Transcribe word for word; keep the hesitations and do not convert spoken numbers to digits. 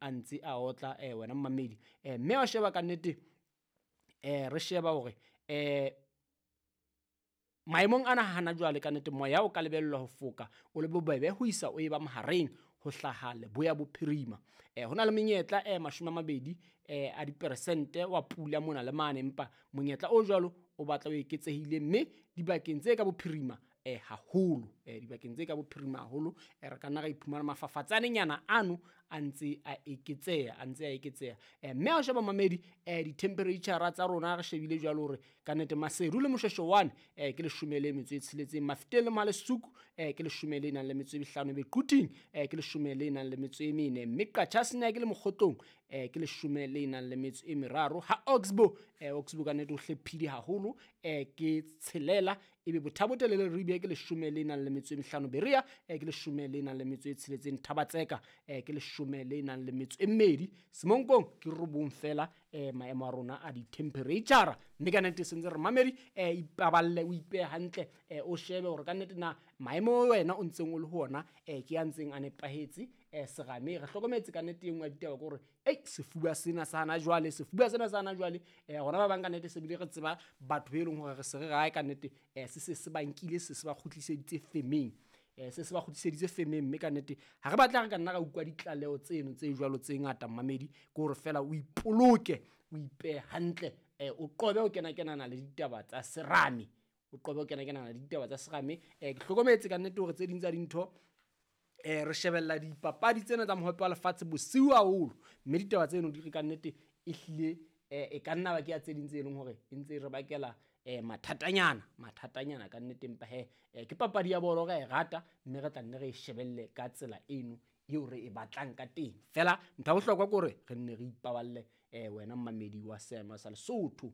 a ntse a otla eh, wena mmamedi. Eh, mme wa sheba ka nnete eh, re sheba hore eh, maemong ana hana jwale ka nnete moya o ka lebellwa ho foka o le bobebe ho isa o eba mahareng ho hlaha leboya bophirima. Eh, ho na le menyetla eh, mashome a mabedi eh, a diperesente wa pula mona le mane, empa monyetla o jwalo o batla o eketsehile mme dibakeng tse ka bophirima eh, haholo eh, dibakeng tse ka bophirima haholo eh, re ka nna ra iphumana mafafatsanenyana ano a ntse a eketseha, a ntse a eketseha. Eh, mme ha o sheba mamedi eh, di-temperature tsa rona re shebile jwalo hore ka nnete Maseru le Moshweshwe one eh, ke leshome le metso e tsheletseng, Mafeteng le Mohalesuku eh, ke leshome le nang le metso e mehlano, Bequting eh, ke leshome le nang le metso e mene, mme Qacha's Nek le Mokgotlong eh, ke leshome le nang le metso e meraro. Ha Oxbow eh, Oxbow ka nnete o hlephile haholo eh, ke tshelela, ebe Bothabotelele le Leribe ke leshome le nang le metso e mehlano, Berea eh, ke leshome le nang le metso e tsheletseng, Thabatseka eh, ke leshome le nang le metso e mmedi, Semonkong ke robong fela eh, maemo a rona a di-temperature. Mme ka nnete sentse re mamedi eh, ipaballe o ipehe hantle eh, o shebe hore ka nnete na maemo wena o ntseng o le ho ona eh, ke a ntseng a nepahetse eh, serame. Re hlokometse ka nnete e nngwe ya ditaba ke hore ei sefuba sena sa hana jwale, sefuba sena sa hana jwale eh, rona ba bang ka nnete se bile re tseba batho be leng hore re se re rae ka nnete eh, se se se ba nkile, se se ba kgutliseditse femeng eh, se se ba kgutliseditse femeng. Mme ka nnete ha re batla re ka nna ra utlwa ditlaleho tseno tse jwalo tse ngata mmamedi, ke hore fela o ipoloke o ipehe hantle eh, o qobe ho kena-kenana le ditaba tsa serame, o qobe ho kena-kenana le ditaba tsa serame. Eh, ke hlokometse ka nnete hore tse ding tsa dintho eh, re shebella dipapadi tsena tsa mohope wa lefatshe bosiu haholo, mme ditaba tseno di re ka nnete ehlile eh, e ka nna ba ke ya tse ding tse leng hore e ntse e re bakela eh, mathatanyana, mathatanyana ka nnete. Empa he eh, ke papadi ya bolo re e rata mme re tla nne re e shebelle ka tsela eno eo re e batlang ka teng. Fela ntho ya bohlokwa ke hore re nne re ipaballe eh, wena mmamedi wa seema sa Lesotho.